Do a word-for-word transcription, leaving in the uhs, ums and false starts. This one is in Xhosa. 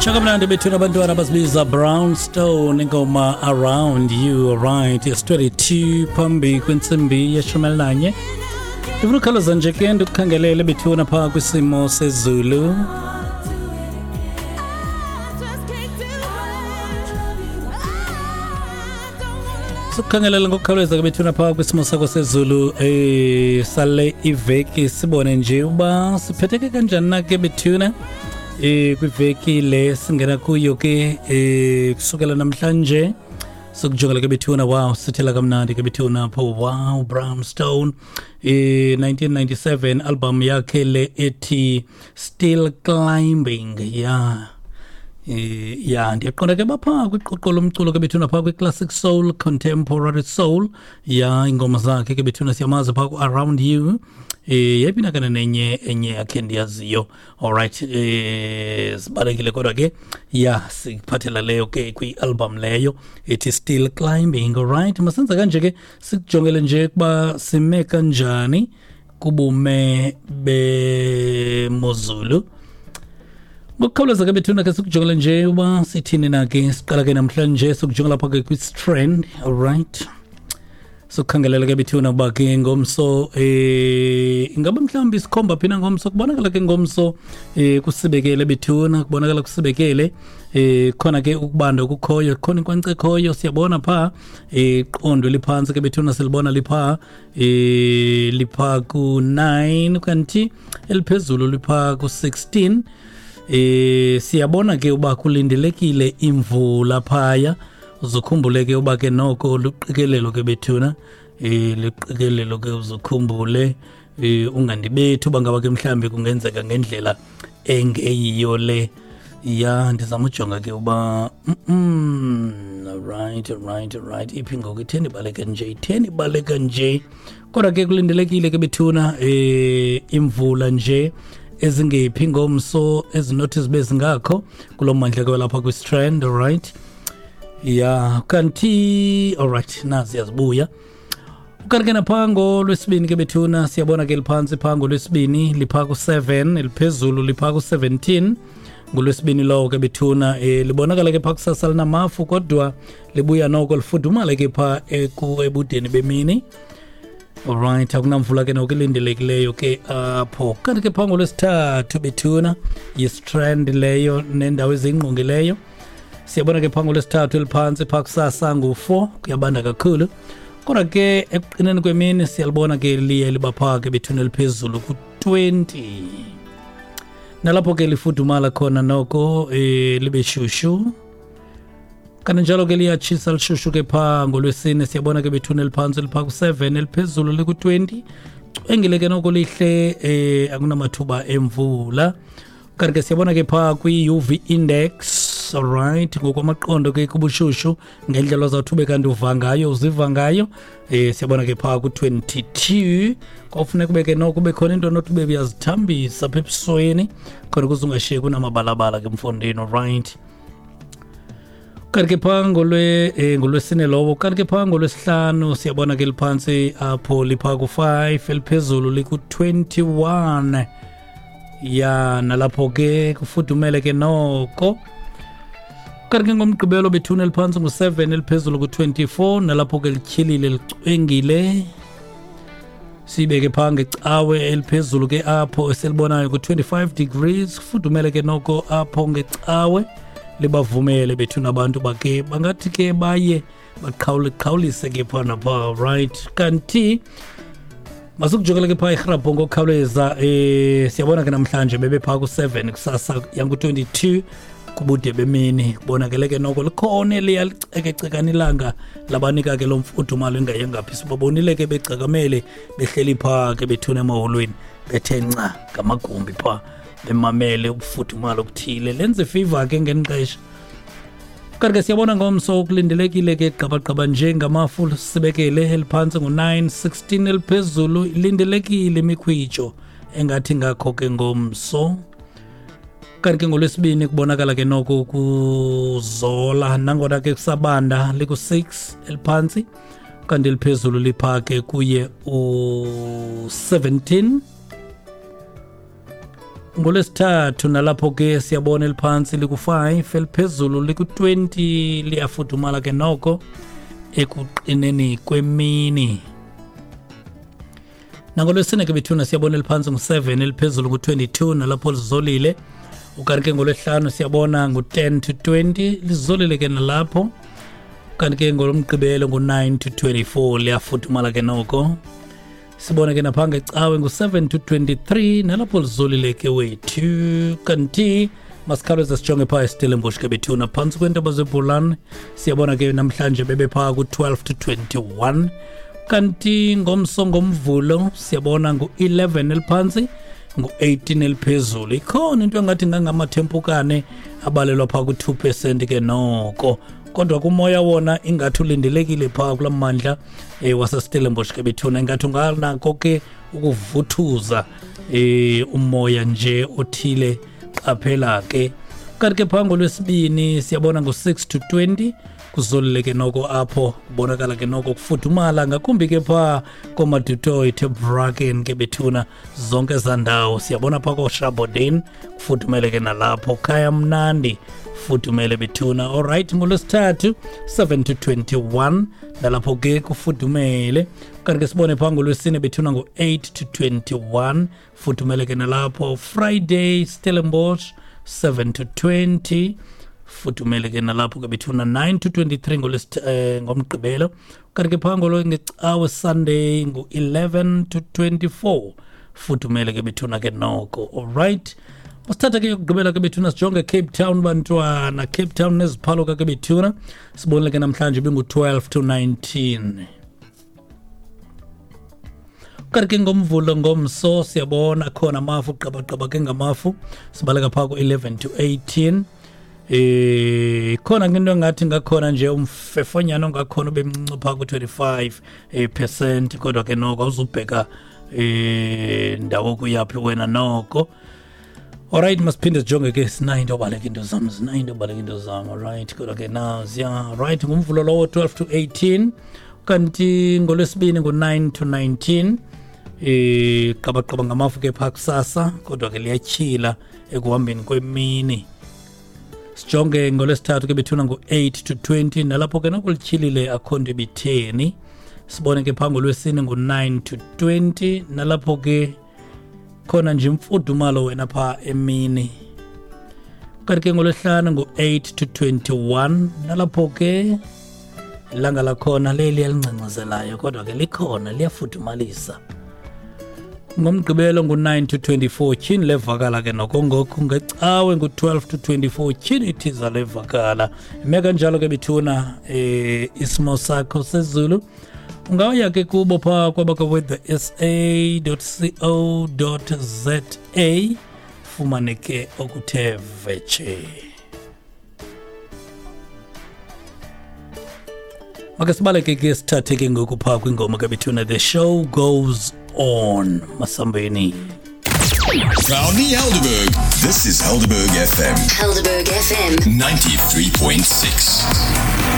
Kamnandi bethuna abantwana bazibiza Brownstone, ingoma Around You. Right, it's twenty-two phambi kwentsimbi yeshumi elinanye. Ndifuna ukhawuleza nje ke ndikukhangelele bethuna phaa kwisimo sezulu. Sukhangelela ngokukhawuleza ke bethuna phaa kwisimo sakho sezulu eh sale iveki, sibone nje uba siphetheke kanjani na ke bethuna eh kwiveki le singena kuyo ke eh kusukela namhlanje. Sokujongela ke bethuna, wow, sithela kamnandi ke bethuna pho. Wow, Brownstone eh nineteen ninety-seven album yakhe le ethi Still Climbing. Yeah. Eh ya, ndiyaqonda ke bapha kwiqoqo lomculo ke bethuna pha kwi-classic soul, contemporary soul. Ya, ingoma zakhe ke bethuna siyamazi pha ku-Around You. Eh yayiphinda kana nenye enye yakhe ndiyaziyo. Alright, eh sibalekile kodwa ke ya sikuphathela leyo ke kwi-album leyo ethi Still Climbing. Alright, masenza kanje ke sikujongele nje kuba sime kanjani kubume bemozulu. Ngokukhawuleza ke bethuna ke sikujongele nje uba sithini na ke. Siqala ke namhlanje sikujongela lapha ke kwi-trend. Alright, sokhangelela ke bethuna uba ke ngomso eh ingaba mhlawumbi isikhomba phina ngomso. Kubonakala ke ngomso eh kusibekele bethuna, kubonakala kusibekele eh khona ke ukubanda okukhoyo, khona inkwankce ekhoyo siyabona pha eh qondo liphansi ke bethuna silibona lipha eh lipha ku nine kanti eliphezulu lipha ku sixteen. Eh siyabona ke uba kulindelekile imvula phaya. Uzukhumbule ke uba ke noko luqikelelo ke bethuna eh liqikelelo ke uzukhumbule eh ungandibethi uba ngaba ke mhlambi kungenzeka ngendlela engeyiyo le. Ya, ndizama ujonga ke uba mm right right right iphi ngoku, itheni ibaleka nje, itheni ibaleka nje. Kodwa ke kulindelekile ke bethuna eh imvula nje ezingephi ngomso ezinothi zibe zingakho kulo mandla ke lapha kwi-strand. Alright, ya kanti alright, nazi yazibuya. Kanti ke napha ngolwesibini ke bethuna siyabona ke liphansi pha ngolwesibini lipha ku seven, eliphezulu lipha ku seventeen ngolwesibini lowo ke bethuna. Eh libonakala ke pha kusasa linamafu kodwa libuya noko lifudumale ke pha ebudeni bemini. Alright, akunamvula ke noko ilindelekileyo ke apho. Kanti ke pha ngolwesithathu bethuna yi-strand leyo nendawo ezingqongileyo. Siyabona ke pha ngolwesithathu eliphansi pha kusasa ngu four, kuyabanda kakhulu. Kodwa ke ekuqineni kwemini siyalibona ke liye liba pha ke bethuna eliphezulu ku twenty. Nalapho ke lifudumala khona noko eh libe shushu. Kananjalo ke liyatshisa lishushu ke pha ngolwesine siyabona ke bethuna eliphansi lipha ku seven, eliphezulu liku twenty. Cwengile ke noko lihle eh akunamathuba emvula. Kanti ke siyabona ke pha kwi U V index. Alright, ngokwamaqondo ke kubushushu ngendlela ozawuthi kanti uva ngayo uziva ngayo eh siyabona ke pha ku twenty-two. Kwafuneka kube ke noko kube khona into nothi ube uyazithambisa apha ebusweni khona ukuze ungashiyeki unamabalabala ke mfondini. Alright, kanti ke pha ngolwe eh, ngolwesine lowo. Kanti ke pha ngolwesihlanu siyabona ke liphansi apho lipha ku five, eliphezulu liku twenty-one. Ya, nalapho ke kufudumele ke noko. Kanti ke ngomgqibelo bethuna eliphansi ngu seven, eliphezulu ku twenty-four, nalapho ke lityhilile licwengile. Sibeke pha ngecawe eliphezulu ke apho eselibonayo ku twenty-five degrees, kufudumele ke noko apho ngecawe. Libavumele bethuna abantu bake bangathi ke baye baqhawule qhawulise ke pha napha. Right, kanti masukujongela ke pha ihrabho ngokukhawuleza eh siyabona ke namhlanje bebe pha ku seven, kusasa yangu twenty-two kubude bemini. Kubonakele ke noko likhona eliyalicekecekana ilanga labanika ke lo mfudumalo ingayengaphi. Sibabonile ke begcakamele behleli pha ke bethuna emaholweni bethe nca ngamagumbi pha bemamele ubufudumalo obuthile, lenze fever ke ngenixesha. Kanti ke siyabona ngomso kulindelekile ke gqabagqaba nje ngamafu sibekele eliphantsi ngu nine, sixteen eliphezulu ilindelekile imikhwitsho engathi ngakho ke ngomso. Kanti ke ngolwesibini kubonakala ke noko kuzola nangona ke kusabanda liku six eliphantsi kanti eliphezulu lipha ke kuye u seventeen. Ngolwesithathu nalapho ke siyabona eliphantsi liku-five, eliphezulu liku-twenty, liyafudumala ke noko ekuqineni kwemini. Nangolwesine ke bethuna siyabona eliphantsi ngu-seven, eliphezulu ngu-twenty-two, nalapho lizolile. Ukanti ke ngolwesihlanu siyabona ngu-ten to twenty, lizolile ke nalapho. Kanti ke ngolomgqibelo ngu-nine to twenty-four, liyafudumala ke noko. Sibone ke napha ngecawe ngu-seven to twenty-three, nalapho lizolile ke wethu. Kanti masikhawuleze sijonge phaa eStellenbosch ke bethuna, phantsi kweentaba zeBholani siyabona ke namhlanje bebephaa ku-twelve to twenty-one. Kanti ngomso ngomvulo siyabona ngu-eleven eliphantsi, ngu-eighteen eliphezulu. Ikhona into engathi ngangamathempukane abalelwa phaa ku-two percent ke noko, kodwa kumoya wona ingathi ulindelekile phaa kulaa mmandla eh, waseStellenbosch ke bethuna, ingathi unganako ke ukuvuthuza eh, umoya nje othile, qaphela ke. Kanti ke phaa ngolwesibini siyabona ngu-six to twenty, kuzolile ke noko apho, kubonakala ke noko kufudumala ngakumbi ke phaa kooMadutoy, Tebraken ke bethuna, zonke ezaa ndawo siyabona phaa kooShabodin kufudumele ke nalapho, khaya mnandi fudumele bethuna. Alright, ngolwesithathu seven to twenty-one, nalapho ke kufudumele. Kanti ke sibone phaa ngolwesine bethuna ngu-eight to twenty-one, fudumele ke nalapho. Friday Stellenbosch seven to twenty, fudumele ke nalapho ke bethuna. Nine to twenty-three ngolwesith- ngomgqibelo. Kanti ke phaa ngecawe Sunday ngu-eleven to twenty-four, fudumele ke bethuna ke noko. Alright, masithatha ke yokugqibela ke bethuna, sijonge Cape Town bantwana. Cape Town neziphaloka ke bethuna, sibonile ke namhlanje bingu-twelve to nineteen. Kanti ke ngomvulo ngomso siyabona khona amafu, qabaqaba ke ngamafu, sibaleka phaa ku-eleven to eighteen. Eh khona ke into engathi ngakhona nje umfefonyana ongakhona ubemncinci phaa ku-twenty-five percent, kodwa ke noko awuzubheka eh ndawo kuyaphi wena noko. Alright, masiphinde sijonge ke, sinayo into yobaleka into zam, sinayo into yobaleka into zam. Alright, kodwa ke naziya. Right, ngumvulo lowo twelve to eighteen, kanti ngolwesibini ngu-nine to nineteen. Eh qabaqaba ngamafu ke phaa kusasa, kodwa ke liyatyhila ekuhambeni kwemini. Sijonge ngolwesithathu ke bethuna ngu-eight to twenty, nalapho ke nokulityhilile akho nto ibitheni. Sibone ke phaa ngolwesine ngu-nine to twenty, nalapho ke khona nje imfudumalo wena phaa emini. Kanti ke ngolwesihlanu ngu-eight to twenty-one, nalapho ke ilanga lakhona leli elingcengcezelayo, kodwa ke likhona liyafudumalisa. Ngomgqibelo ngu-nine to twenty-four, tyhini levakala ke noko ngoku. Ngecawe ngu-twelve to twenty-four, tyhini ithiza levakala. Ime kanjalo ke bethuna eh, isimo sakho sezulu. Ungaya ke kubo phaa kwabaka-weather s a dot co dot z a, fumane ke okuthe vetshe. Make sibaleke ke sithathe ke ngoku phaa kwingoma ke bethuna, The Show Goes On. Masambeni. Proudly Helderberg. This is Helderberg F M. Helderberg F M ninety-three point six.